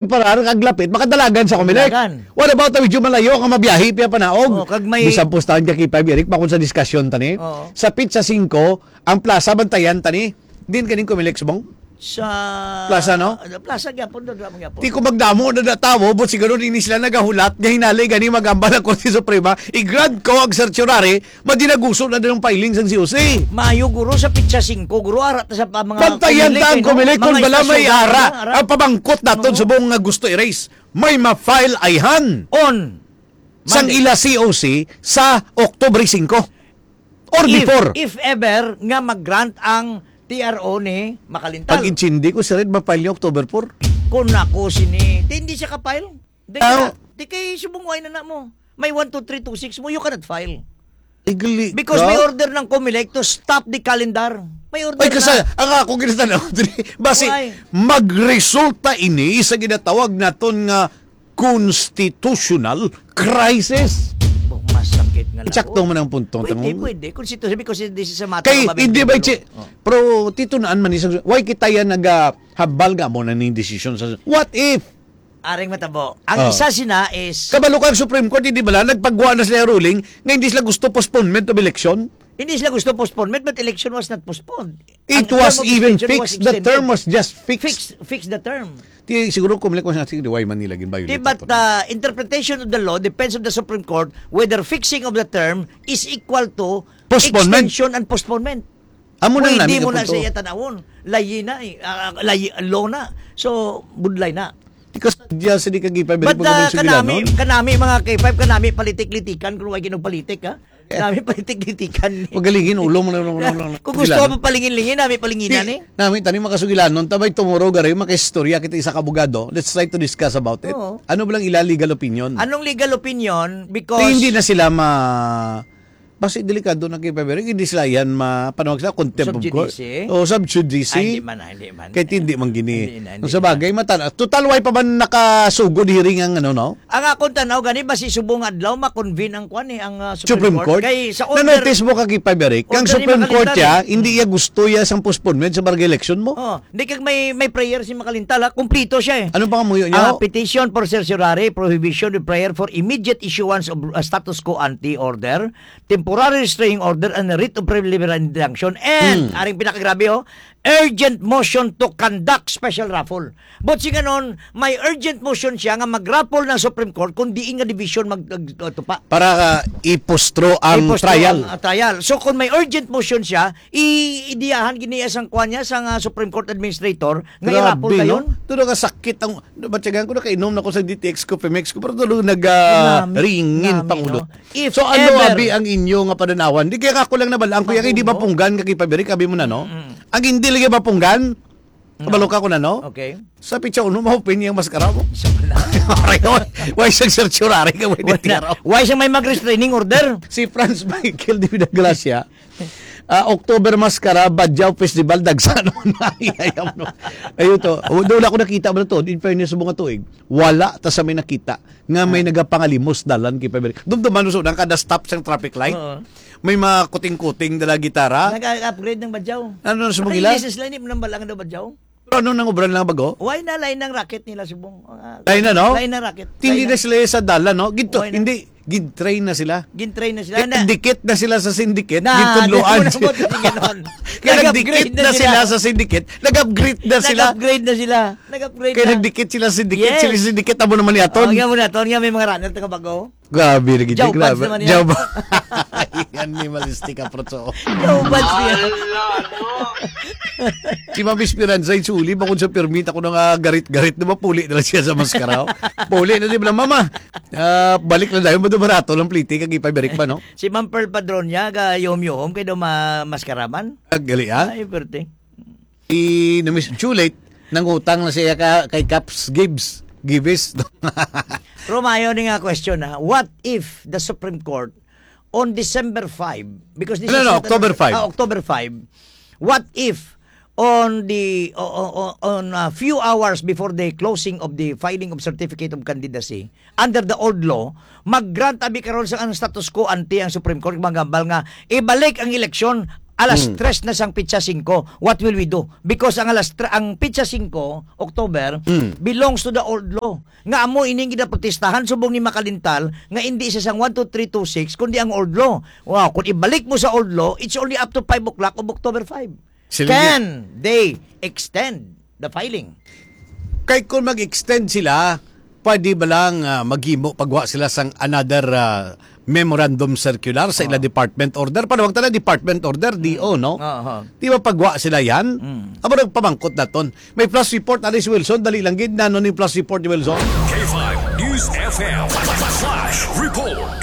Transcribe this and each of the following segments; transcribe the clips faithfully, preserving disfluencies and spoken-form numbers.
Parar kag lapit, makadalagan sa Comelec. Dalagan. What about ang medyo malayo nga mabiyahe, piya panaog? Oh, kag may Bisan pustahan ka, K five Eric, pa kung sa diskusyon tani. Oo. Sa Pizza Cinco, ang plaza bantayan tani. Din kaning Comelec, Subong? Sa Plaza, no? Plaza gyapon, dada man gyapon. Ti kung magdamo na na tawo, but siguro ini sila nagahulat nga hinali gani magambal ang Korte Suprema, i-grant ko ang certiorari, madinaguso na din ang filing sang C O C. Maayo, guro, sa pitsa singko, guro, ara ta sa pa mga Bantayan Comelec, ta ang eh, no? Comelec, kung Mga bala may istasyon, ara, ara. Ang pamangkot naton Oo. Subong nga gusto erase. May ma-file ayhan On sang Monday. Ila C O C sa October singko. Or If, before. If ever nga mag-grant ang T R O ni Makalintal. Pag-intindi ko, si Red ma-file niya October four. Kung ako sini, di, hindi siya ka-file. Di Ah. ka, di kay subong way na na mo. May one two three two six mo, you cannot file. Legally Because ka? May order ng Comelec to stop the calendar. May order Ay, kasi, na. Ang ako ginatanaw, dili, basi, Why? Magresulta ini sa ginatawag naton nga constitutional crisis. Buk, masakit nga Sakto labo. Man ang punto, Pwede, tamo. Pwede. Constitution, because this is a matter Kay, of hindi ba, abandon. Chi-, Oh. Pero, titunaan man isang, why kita yan nagahambal nga mo na ning desisyon sa, what if? Aring matabo. Ang Oh. Isa sina is Kabalo ka ang Supreme Court, hindi ba lang? Nagpagwa na sila ruling nga hindi sila gusto postponement of election? Hindi sila gusto postponement, but election was not postponed. It Ang was term of even extension was fixed. The extended. Term was just fixed. Fix, fix the term. Ti, siguro kung like, sige, why man nila gin-violate Di, but sa the interpretation of the law depends on the Supreme Court whether fixing of the term is equal to Postponement. Extension and postponement. Amo nang Pwede nami mo na punto. Sa iya tanawon. Layi na eh. Ah, layi, law na. So, budlay na. Because diya sa di ka gipabili But, pag uh, may kanami, sugilanon. Kanami mga K five, kanami politik-litikan kung wala ginagpolitik, ha? Eh. Nami politik-litikan. Pagalingi ulo mo na, na, na, na, Kung gusto sugilanon. Mo palingin-lingin, nami palinginan Di, eh. Nami, tani makasugilanon, tabay tomorrow, gari, makaistorya kita isa ka abogado. Let's try to discuss about it. Oo. Ano ba lang ila legal opinion? Anong legal opinion? Because Di, hindi na sila ma-, Basi delikado na kay February, hindi sila yan ma-, panawag sila contempt of court. Sub judice? O, sub judice. Ay, hindi man, ah, hindi man. Kahit hindi man gini. Hindi na, hindi Kung sa bagay, na. Matan-, total, why pa man nakasugod hearing ang ano, no? Ang akong tanaw gani, basi subong adlaw, ma-convene ang kwan eh, ang, ah, Supreme Supreme Court. Court? Kay sa order, Na-notice mo ka kay February, kang order ni Supreme Court Makalitan. Ya, hindi ya gusto ya sang postponement sa barangay election mo? Oh, hindi kag may, may prayer si Makalintal, ha? Kumplito siya eh. Ano pa ang muyo niya? Ah, petition for certiorari, prohibition of prayer for immediate issuance of, ah, status quo ante order. Temporary restraining order and a writ of preliminary injunction, and, Hmm. aring pinakagrabe, oh, urgent motion to conduct special raffle. But si ganon, may urgent motion siya nga mag-raffle ng Supreme Court kung diin nga division mag-, mag-, uh, tupa. Para, uh, ipostro ang Ipostro trial. Ang, uh, trial. So, kung may urgent motion siya, i-, idiyahan gini sang kwan niya, sang, uh, Supreme Court Administrator, nga Grabe, i-raffle no? Dayon. Tulo ka sakit ang Nabatyagan ko, nakainom na ko sa D T X ko, Pemex ko, pero tulo nag, ah, Nami, ringin nami, pangulo. No? If So, ano, ever abi, ang inyo nga padanawan? Di kaya ako lang nabalaan ko, yan, hindi Mabugo. Mapunggan ka kay Pabrik, abi mo na, no? Mm-mm. Ang hindi lagi mapunggan, No. Kabalo ka ko na, no? Okay. Sa pitsa uno, ma-open niya ang maskara mo. Isa pa lang. Aray, oy. Why siyang certiorari ka, why Wala. Di tiyaro? Why siya may mag-restraining order? Si Franz Michael de Vidagracia, Ah, October Mascara, Badjao Festival, dagsa naman na. Ayaw, no? Ayun to. O, doon ako nakita mo na to. In fairness mo nga tuig, wala ta sa may nakita nga may Ah. nagapangalimos dalan kay Pabrik. Dumduman mo, so, nang kada stop sang traffic light, Oo. may mga kuting-kuting dala gitara. Nag-upgrade ng Badjao. Ano na sa Mugila? Naka-ilis sila, hindi mo nang balang daw Badjao. Pero ano nang obra lang bago? Why na lain ang racket nila, subong? Ah, Lain na, no? Lain ang racket. Hindi Lain na na. Sila sa dalan, no? Ginto, Why na? Hindi, gin-train na sila. Gin-train na sila. Kaya Na- dikit na sila sa syndicate, Na, gintudloan di mo na sila. Mo tingin nun. Kaya Nag-upgrade nagdikit na na sila. Sila sa syndicate, nag-upgrade na sila. Nag-upgrade na sila. Nag-upgrade Kaya na. Nagdikit sila sa syndicate, Yes. Sila syndicate, amo naman ni Aton. Oh, nga mo na, Aton, nga may mga runner, taga Bago. Grabe na gid, Jow grabe. Buds naman yan. Jow bu-, Animalistic approach, oh. Jow Buds yan. Ala, no? Si Ma'am Esperanza, yung suli, bakod sa permit, ako na nga garit-garit, di ba, puli na lang siya sa maskara, oh. Puli na, di ba, Mama? Ah, balik na tayo, madumarato lang pliti, kag ipabirik pa, no? Si Ma'am Pearl Padronya, ga yom-yom, kay daw ma-, maskara man. Ag-, gali, ah? Ay, perte. Si Miss Juliet, nangutang na siya ka, kay Caps Gibbs. Gibbs. Pero maayo ni nga question, ha. What if the Supreme Court on December five, because this No, is no, not an October five. Ah, October five. What if on the, o-, o-, o-, on a few hours before the closing of the filing of certificate of candidacy, under the old law, mag-grant abi karon sa ang status quo ante ang Supreme Court, maghambal nga ibalik ang eleksyon Alas Hmm. tres na sang petsa singko. What will we do? Because ang alas tre-, ang petsa singko, October, Hmm. belongs to the old law. Nga amo ining ginaprotestahan subong ni Makalintal nga indi siya sang one two three two six, kundi ang old law. Wow, kung ibalik mo sa old law, it's only up to five o'clock of October five. Sila Can they extend the filing? Kay kung mag-extend sila, pwede ba lang, ah, maghimo, pagwa sila sang another, ah, memorandum circular sa ila Oh. department order? Panawag ta na department order, D O, no? Oo. Di ba pagwa sila yan? Mm. Amo nagpamangkot naton. May flash report, ari si Wilson. Dali lang gid. Nano ni flash report ni Wilson? K five News F M. Flash report.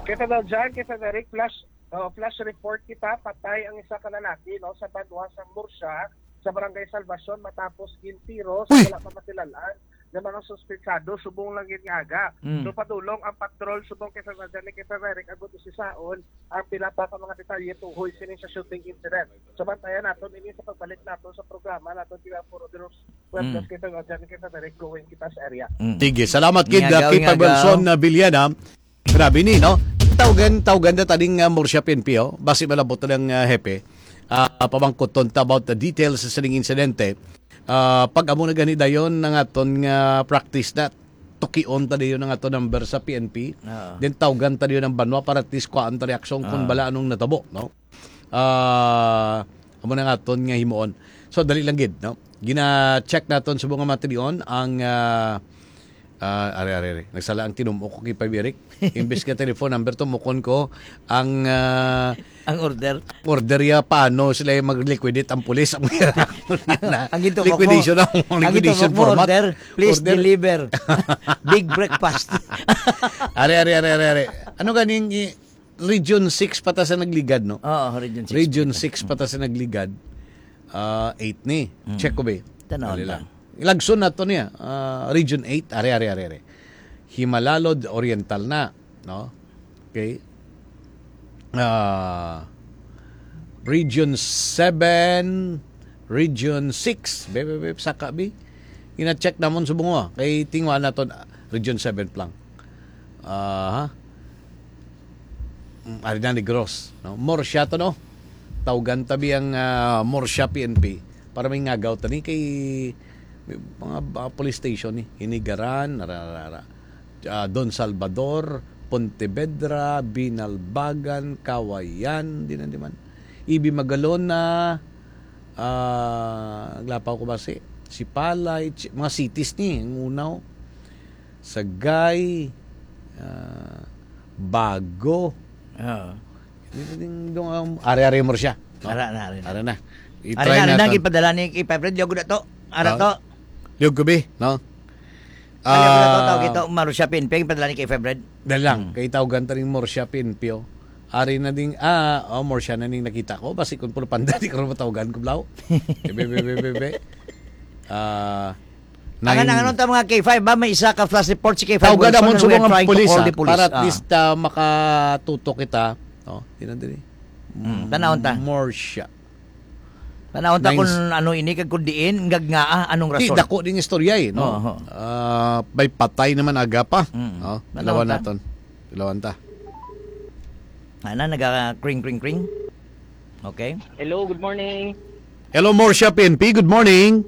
Kay Fidel John, kay Frederick, flash, oh, flash report kita. Patay ang isa ka lalaki, no, sa banwa sa Murcia, sa Barangay Salvacion, matapos gintiro sa Uy! wala pa makilal-an nga mga suspetsado subong lang gid nga aga. Mm. So, padulong ang patrol subong kay Frederick, kay Frederick, agud usisaon ang pila pa ka mga detalye tuhoy sini sa shooting incident. So, bantayan naton ini sa pagbalik naton sa programa naton, di ba, puro Dinos Pueblos Mm. kay Frederick, kay Frederick, going kita sa area. Mm. Sige, salamat gid, Ngagaw, uh, Kay ngagaw. Pagwelson, uh, Villena. Grabe ni, no? Tawgan, tawgan na taning, uh, Murcia P N P, oh. Basi malabot na ng, uh, hepe. Ah, pamangkuton ta about the details sa sining insidente. Ah, pag amo na gani dayon ang aton nga practice na, tukion ta dayon ang aton number sa P N P. Oo. Then tawgan ta dayon ang banwa para at least kuhaan ta reaksyon kung Oo. bala anong natabo, no? Ah, amo na nga aton nga himuon. So, dali lang gid, no? Gina-check naton sa mga matilion ang, ah, ah, are, are, are. Nagsala ang tinumok ko kay Pabirek. Imbes nga telephone number, tumukon ko ang, ah, Ang order. order ya paano sila yung mag-liquidate ang pulis. Ang Ang gintumok mo, Liquidation ang ang liquidation gintumok mo, format. Order, please Order. deliver. Big breakfast. Are, are, are, are, are. Ano ganing i-, Region six pa ta sa nagligad, no? Oo, Region six Region pa ta. six pa ta sa nagligad. Ah, eight ni. Mm. Check ko ba? Tanaw Dali ta. lang. Ilagson na to niya. Ah, Region eight. Are, are, are, are. Himalalod Oriental na, no? Okay. Ah, Region seven, Region six. Be, be, be, saka, be. Ina-check namon sa bunga. Kay tingwa naton, ah, Region seven pa lang. Aha. Mm, ari na ni Gross, no? Murcia to, no? Tawgan tabi ang, ah, Murcia P N P para may ngagaw tani kay may mga, ah, police station ni Hinigaran, ara, ara, ara. Ah, Don Salvador, Pontevedra, Binalbagan, Kawayan, di na di man. Ibi Magalona, ah, Aglapaw ko ba si, si Palay, Chi-, mga cities ni, ang unaw. Sagay, ah, Bago. Oo. Dito din, dong, um, are-are mo siya, no? Ara na, ara na. Ara na. Ara I-try na, ara na, natin. Gipadala ni Kay Febred, liog na to. Ara Ah, to. Liog gabi, no? Kaya ko na to, Ah, tawag ito, Marusha Pinping, padala ni Kay Febred. Dali lang, Hmm. kay tawgan ta ning Marusha Pinpio. Ari na ding, ah, oh, Marusha na ning nakita ko. Basi kung puro panda, di ko rin matawgan ko, blaw. Ebe, be, be, be, be. Ah, Ang nine. Ano, ano ta mga K five ba? May isa ka flash report si K five Tawgan Wilson namon and we subong are ang trying to pulis, call ah, the police. para at Ah. least, ah, makatuto kita. Oh, tinan diri. Hmm, tanawon ta. Marusha. Tanawon ta Nine kung s- ano ini, kag kung diin, ngag nga, ah, anong Di, rason? dako ding istorya eh, no? Oo. Ah, may patay naman aga pa. Mm. No? Tanawon Ilawan ta. naton. Ilawan ta. Ana, naga kring, kring, kring. Okay. Hello, good morning. Hello, Marusha P N P. Good morning.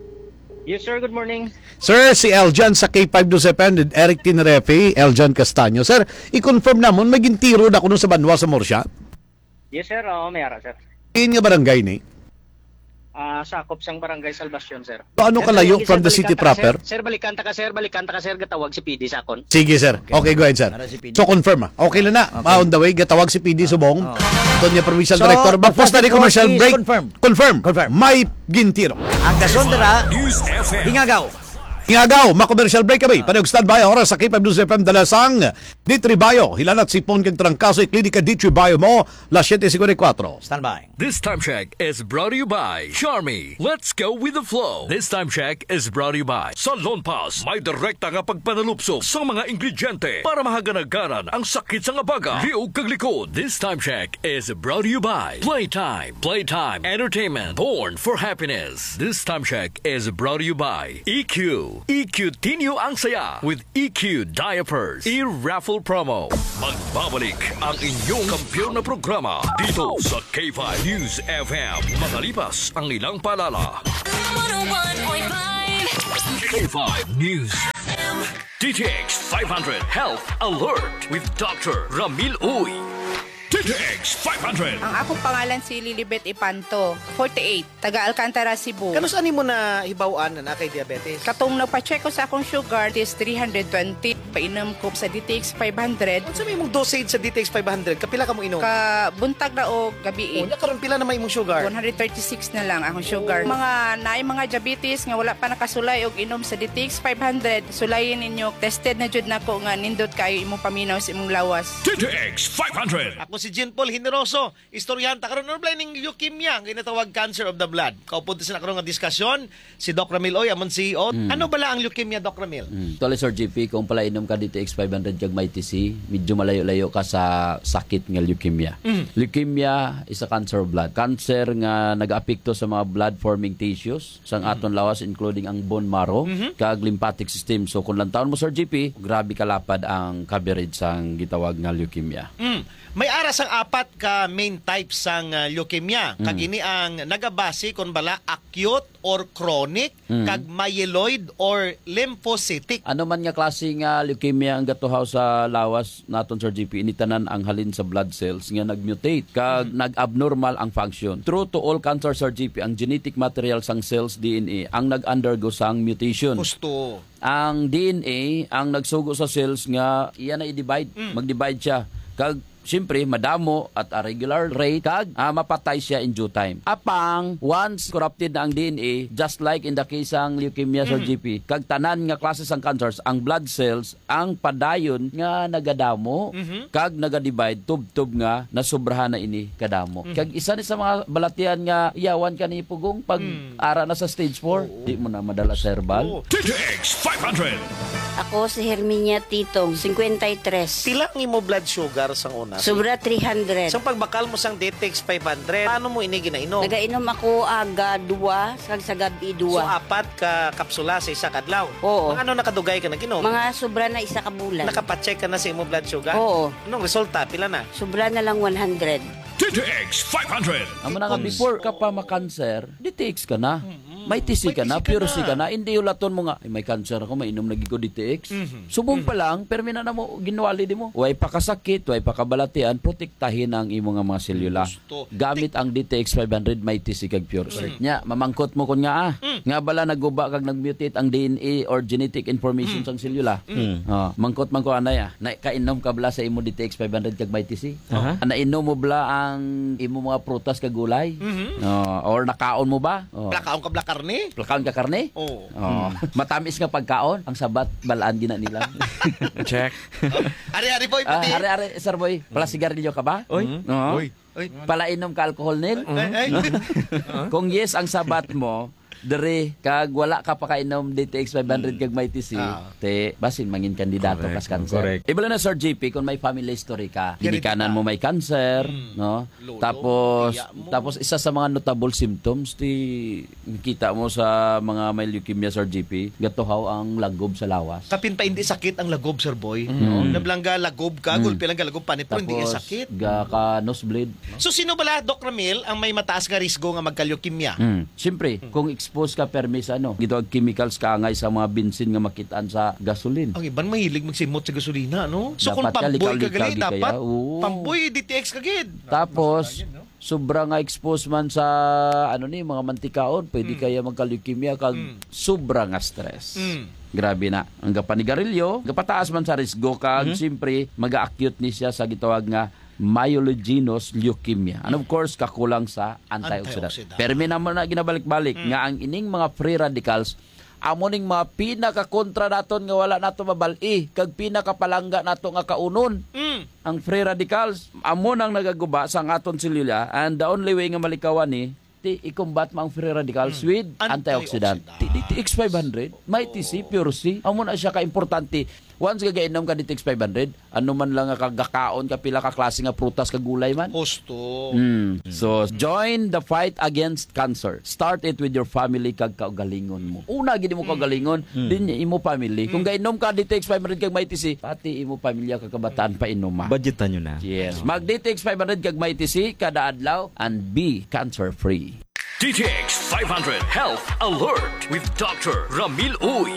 Yes, sir. Good morning. Sir, si Eljan sa K five News F M, Eric Tinrefe, Eljan Castaño. Sir, i-confirm namon, may gintiro na kuno sa banwa sa Marusha? Yes, sir. Oo, may ara, sir. In nga barangay ni? Ah, sakop sang Barangay Salvacion, sir. Paano Sir, kalayo sige, from sir, the city balikan ta ka, proper? sir. Sir, balikan ta ka, sir. Balikan ta ka, sir. Gatawag si P D sa akon. Sige, sir. Okay. Okay, go ahead, sir. Para si P D. So, confirm, ah. Okay lang na. Okay. Ah, on the way, gatawag si P D Ah, Subong. ah. Ito niya, provincial So, director. the Magpos na fast di commercial report is break. confirmed. Confirm. Confirmed. May gintiro. Ang kasunod ra, News F M. Hingagaw. Hingagaw, ma-commercial break kami. Ah. Panayog standby, oras sa K five News F M, dala sang Ditribayo. Hilanat sipon kag trangkaso, i-clinic ka Ditribayo mo, las siete cincuenta y cuatro. Standby. This time check is brought to you by Charmy. Let's go with the flow. This time check is brought to you by Salon Pass. May direkta nga pagpanalupsop sa mga ingrediente para mahaganagaran ang sakit sa nga baga, liog kag likod. This time check is brought to you by Playtime. Playtime Entertainment. Born for happiness. This time check is brought to you by E Q. E Q Tinyo ang saya with E Q Diapers. E-raffle promo. Magbabalik ang inyong kampiyon na programa dito sa K five News F M. Makalipas ang ilang paalala. One oh one point five. K five News F M. D T X five hundred Health Alert with Doctor Ramil Uy. D T X five hundred. Ang akong pangalan si Lilibet Ipanto, forty-eight, taga Alcantara, Cebu. Kanus-an nimo nahibaw-an na naa kay diabetes? Katong nagpa-check ko sa akong sugar, it is three hundred twenty. Painom ko sa D T X five hundred. Unsa may imong dosage sa D T X five hundred? Kapila ka mo inom? Ka buntag na o gabi. Oh, nya karon pila na may imong sugar? One hundred thirty-six na lang akong sugar. Oh. Mga naay mga diabetes nga wala pa nakasulay og inom sa D T X five hundred, sulayin ninyo. Tested na jud nako nga nindot kaayo imong paminaw sa imong lawas. D T X five hundred. Ako si Jean Paul Generoso, istoryahan ta karon, ano bala ning leukemia nga ginatawag cancer of the blood? Kaupod ta sa karon nga diskasyon, si Doc Ramil Uy, amon C E O. Mm. Ano bala ang leukemia, Doc Ramil? Mm. Actually, Sir G P, kung palainom ka D T X five hundred kag Mighty C, medyo malayo-layo ka sa sakit nga leukemia. Mm. Leukemia is a cancer of blood. Cancer nga nag-apekto sa mga blood-forming tissues sang Mm. aton lawas, including ang bone marrow Mhm. kag lymphatic system. So, kung lantawon mo, Sir G P, grabe kalapad ang coverage sang gitawag nga leukemia. Mm. May ara sang apat ka main types sang, ah, leukemia. Kag Mm. ini ang nagabase kon bala acute or chronic, Mm. kag myeloid or lymphocytic. Ano man nga klase nga leukemia ang gatuhaw sa lawas naton, Sir G P, ini tanan ang halin sa blood cells nga nag-mutate kag Mm. nag-abnormal ang function. True to all cancer, Sir G P, ang genetic material sang cells, D N A, ang nag-undergo sang mutation. Husto. Ang D N A ang nagsugo sa cells nga iya na i-divide. Mm. Mag-divide siya. Kag, siyempre, madamo at a regular rate, kag, ah, mapatay siya in due time. Apang, once corrupted na ang D N A, just like in the case sang leukemia, Sir Mm. G P, kag tanan nga klase sang cancers, ang blood cells ang padayon nga nagadamo, Mhm. kag naga-divide, tubtob nga nasubrahan na ini kadamo. Mhm. Kag isa ni sa mga balatian nga yawan ka ni pugong pag Mm. ara na sa stage four, Oo. di mo na madala sa herbal. Oo. D T X five hundred. Ako si Herminia Titong, cincuenta y tres. Pila ang imo blood sugar sang una? Sobra three hundred. Sa pagbakal mo sang D T X five hundred, paano mo ini ginainom? Nagainom ako aga dua, kag sa gabi So, dua. apat ka kapsula sa isa ka adlaw? Oo. Mga ano nakadugay ka nag-inom? Mga sobra na isa ka bulan. Nakapacheck ka na sa imo blood sugar? Oo. Anong resulta? Pila na? Sobra na lang one hundred. D T X five hundred. Amo na nga, Titong. Before ka pa makanser, D T X ka na. Mm-mm. May T C May ka na, T C ka pure C na. ka na. Hindi ulaton mo nga, "Ay, may cancer ako, mainom lagi ko D T X." Mhm. Subong Mhm. pa lang, permi na namo, ginwali di mo. Way pa kasakit, way pa kabalatian, protektahin ang imo nga mga selula. Gusto. Gamit ang D T X five hundred, may T C kag pure C. Mm. Nya, mamangkot mo kun nga, ah, Mm. nga bala naguba kag nag-mutate ang D N A or genetic information Mm. sang selula. Mm. Oh, mangkot man ko, anay, ah. Na, kainom ka bala sa imo D T X five hundred kag may T C? Aha. Ah, nainom mo bala ang imo mga prutas kag gulay? Mhm. Oh, or nakaon mo ba? Oh. Plakaon ka bala karne? Plakaon ka karne? Oo. Oh. Mm. Matamis nga pagkaon, ang sabat, balaan gina nila. Check. Ari, ari, boy, Ah, pati. ari, ari, sir boy, pala sigarilyo ka ba? Oy. Mm. Oo. Oy. Oy. Palainom ka alcohol, Nel? Ay, ay. Kung yes ang sabat mo, diri, kag wala ka pakainom D T X five hundred Mm. kag may T C, Ah. te, basin mangin kandidato Correct. kas cancer. Correct. Ibala na, Sir G P, kung may family history ka, Hereditary. ginikanan mo may cancer, Mm. no? Lolo, Tapos, iya mo. tapos isa sa mga notable symptoms, ti, nakita mo sa mga may leukemia, Sir G P, gatuhaw ang lagob sa lawas. Kapin pa hindi sakit ang lagob, Sir Boy. Mm. No? Nablangga lagob ka, Mm. gulpi lang ka lagob panit, pero hindi Tapos, sakit. ga ka nosebleed. So, sino bala, Doc Ramil, ang may mataas nga risgo nga magka-leukemia? Mm. Siyempre, Mm. kung exposed ka permi sa ano, gitawag chemicals kaangay sa mga bensin nga makitaan sa gasoline. Ang iban mahilig magsimot sa gasolina, no? So, kung Dapat ka pamboy ka likaw-likaw gali, di kaya, dapat oo. pamboy, D T X ka gid. Tapos, Mas lain, no? sobra nga exposed man sa, ano ni, mga mantikaon, pwede Mm. kaya magka-leukemia kag Mm. sobra nga stress. Mm. Grabe na. Ang gapanigarilyo, gapataas man sa risgo kag, Mhm. siyempre, maga-acute ni siya sa gitawag nga myelogenous leukemia. And of course, kakulang sa antioxidant. Antioxidant. Pero may naman na ginabalik-balik Mm. nga ang ining mga free radicals, amo ning mga pinakakontra naton nga wala nato mabal-i, kag pinakapalangga nato nga kaunon. Mm. Ang free radicals, amo nang nagaguba sa aton selula, and the only way nga malikawan ni, ti i-combat mo ang free radicals Mm. with antioxidant. Antioxidant. Ti D T X five hundred, may T C, Oo. pure C. Amo na siya ka-importante. Once nga gainom ka D T X five hundred, ano man lang nga kagakaon ka, pila ka klase nga prutas kag gulay man. Husto. Mm. So, join the fight against cancer. Start it with your family kag kaugalingon mo. Una gid mo kaugalingon, din imo family. Kung gainom ka D T X five hundred kag Mighty C, pati imo pamilya kag kabataan painuma. Budgetan nyo na. Yes. Mag D T X five hundred kag Mighty C kada adlaw and be cancer-free. D T X five hundred Health Alert with Doctor Ramil Uy.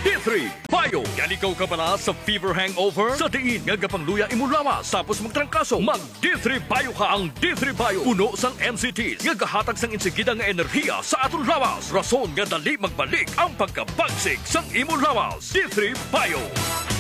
D three Bio. Yan ikaw kabala sa fever hangover? Sa diin nga gapangluya imo lawas tapos magtrangkaso? Mag D three Bio ka. Ang D three Bio puno sang M C Ts nga gahatag sang insigida nga enerhiya sa aton lawas, rason nga dali magbalik ang pagkabagsik sang imo lawas. D three Bio.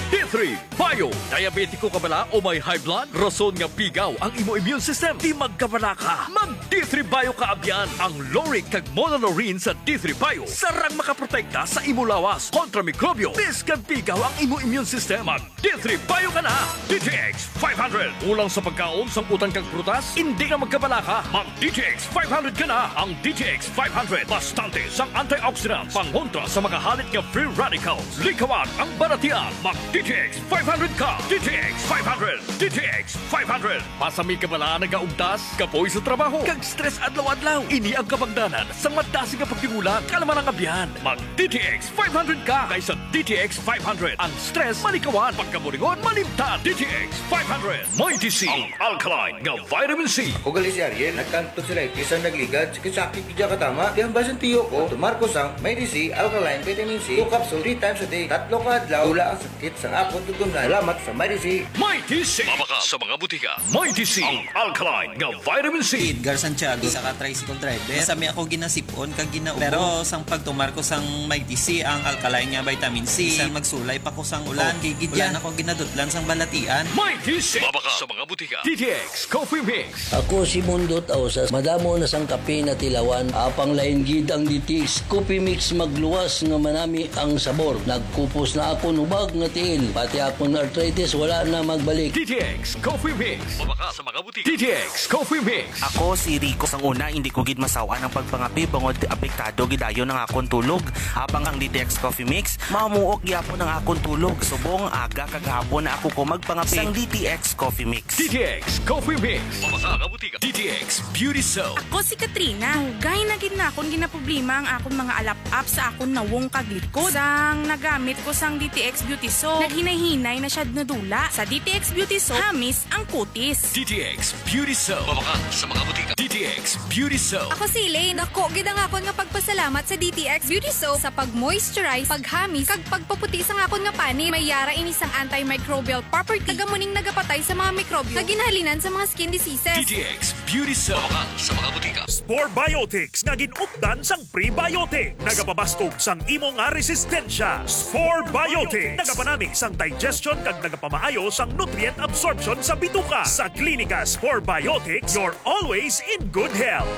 D three Bio. Diabetiko ka bala o may high blood? Rason nga pigaw ang imo immune system, di magkabala ka. Mag D three Bio ka abyan. Ang lauric kag monolaurin sa D three Bio sarang makaprotekta sa imo lawas kontra mikrobyo, bisan pigaw ang imo immune system. Mag D three Bio ka na. D T X five hundred. Kulang sa pagkaon, sang utan kag prutas? Hindi na magkabala ka. Mag D T X five hundred ka na. Ang D T X five hundred bastante sang antioxidants, pangontra sa mga halit nga free radicals. Likawan ang balatian. Mag D T X five hundred ka. D T X five hundred. D T X five hundred. Pasami ka bala nagaugtas, kapoy sa trabaho, kag stress adlaw-adlaw? Ini ang kabangdanan sang madasig nga pagtimulan, kalaman ang abyan. Mag D T X five hundred ka, kay sa D T X five hundred, ang stress malikawan, pagkaburingon malimtan. D T X five hundred. Mighty C, ang alkaline nga vitamin C. Ako gali si Ariel, nagkanto sila, eh, bisan nagligad, sakit-sakit gid siya katama. Kaya ang basin tiyo ko, tumar ko sang Mighty C, alkaline vitamin C, two capsule, three times a day. Tatlo ka adlaw, wala ang sakit sang akon tutunlan. Salamat sa Mighty C. Mighty C. Mabakal sa mga butika. Mighty C, ang alkaline nga vitamin C. Edgar Santiago, isa ka tricycle driver. Sa mi ako ginasipon kag ginaubos. Pero sang pagtumar ko sang Mighty C, ang alkaline nga vitamin C, bisan magsulay pa ko sang ulan, okay gid yan. Wala na ko ginadutlan sang balatian. Mighty C. Mabakal sa mga butika. D T X Coffee Mix. Ako si Mundot Ausas, madamo na sang kape natilawan, apang lain gid ang D T X Coffee Mix, magluwas nga manami ang sabor. Nagkupos na akon hubag nga tiil, pati akon arthritis wala na magbalik. D T X Coffee Mix. Mabakal sa mga butika. D T X Coffee Mix. Ako si Rico. Sang una, hindi ko gid masaw-an ang pagpangape bangod apektado gid ayon ang akon tulog. Apang ang D T X Coffee Mix, mamuok gyapon ang akon tulog. Subong aga kag hapon na ako ko magpangape. Sang D T X Coffee Mix. D T X Coffee Mix. Mabakal sa mga butika. D T X Beauty Soap. Ako si Katrina. Dugay na gid na akon ginaproblema ang akon mga alap-ap sa akon nawong kag likod. Sang nagamit ko sang D T X Beauty Soap, naghinay-hinay na siya nadula. Sa D T X Beauty Soap, hamis ang kutis. D T X Beauty Soap. Mabakal sa mga butika. D T X Beauty Soap. Ako si Elaine. Dako gid ang akon nga pagpasalamat sa D T X Beauty Soap sa pag-moisturize, paghamis, kag pagpaputi sang akon nga panit. May yara ini sang antimicrobial property. Taga muning nagapatay sa mga mikrobyo nga ginhalinan sa mga skin diseases. D T X Beauty Soap. Mabakal sa mga butika. Spore Biotics nga gin-updan sang prebiotic. Nagapabaskog sang imo nga resistensya. Spore Biotics. Nagapanami sang digestion kag nagapamaayo sang nutrient absorption sa bituka. Sa Klinika, Spore Biotics, you're always in good health.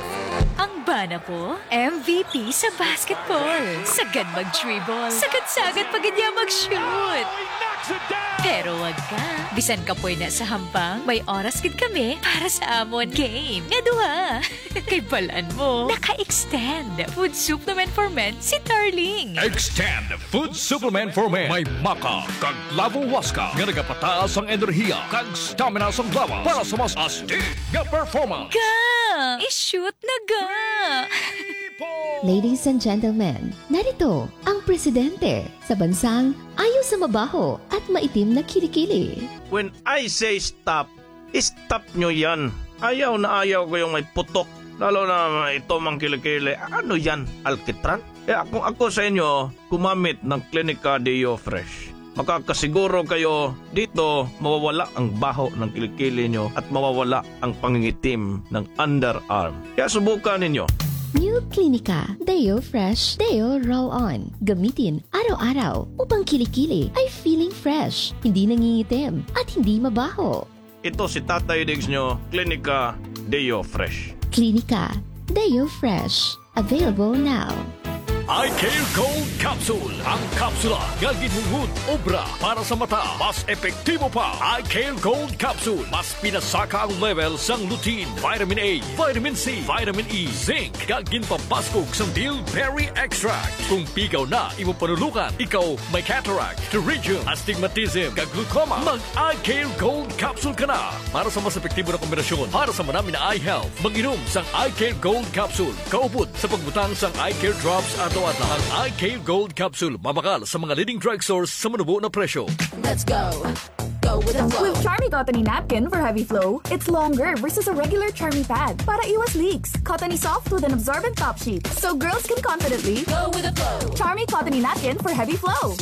Ang bana ko, M V P sa basketball. Sagad mag-dribble. Sagad-sagad pa gid niya mag-shoot. Pero wag ka. Bisan kapoy na sa hampang, may oras gid kami para sa amon game nga duha. Kay balan mo, naka-extend food supplement for men si Darling. Extend food supplement for men. May maca kag clavo huasca nga nagapataas ang enerhiya kag stamina sang lawas para sa mas astig nga performance. Ga! I-shoot na ga! Ladies and gentlemen, narito ang presidente sa bansang ayaw sa mabaho at maitim na kilikili. When I say stop, stop nyo yan. Ayaw na ayaw ko yung may putok. Lalo na ito mang kilikili. Ano yan? Alkitran? Kaya kung ako sa inyo, gumamit ng Klinika Deo Fresh. Makakasiguro kayo dito mawawala ang baho ng kilikili nyo at mawawala ang pangingitim ng underarm. Kaya subukan ninyo. New Clinica Deo Fresh Deo Roll On. Gamitin araw-araw upang kilikili ay feeling fresh, hindi nangingitim, at hindi mabaho. Ito si Tatay Diggs nyo, Klinika Deo Fresh. Klinika Deo Fresh. Available now. Eye Care Gold Capsule, ang kapsula nga ginhungod obra para sa mata. Mas epektibo pa. Eye Care Gold Capsule, mas pinasaka ang level sang lutein, vitamin A, vitamin C, vitamin E, zinc, kag ginpabaskog sang bilberry extract. Kung pigaw na imo panulukan, ikaw may cataract, pterygium, astigmatism, kag glaucoma, mag Eye Care Gold Capsule ka na. Para sa mas epektibo na kombinasyon para sa manami na eye health, mag-inom sang Eye Care Gold Capsule kaupod sa pagbutang sang Eye Care Drops adlaw-adlaw. Ang Eye Care Gold Capsule mabakal sa mga leading drugstores sa manubo na presyo. Let's go. Go with the flow. With Charmy Cottony Napkin for Heavy Flow, it's longer versus a regular Charmy pad para iwas leaks. Cottony soft with an absorbent top sheet, so girls can confidently Go with the flow. Charmy Cottony Napkin for Heavy Flow.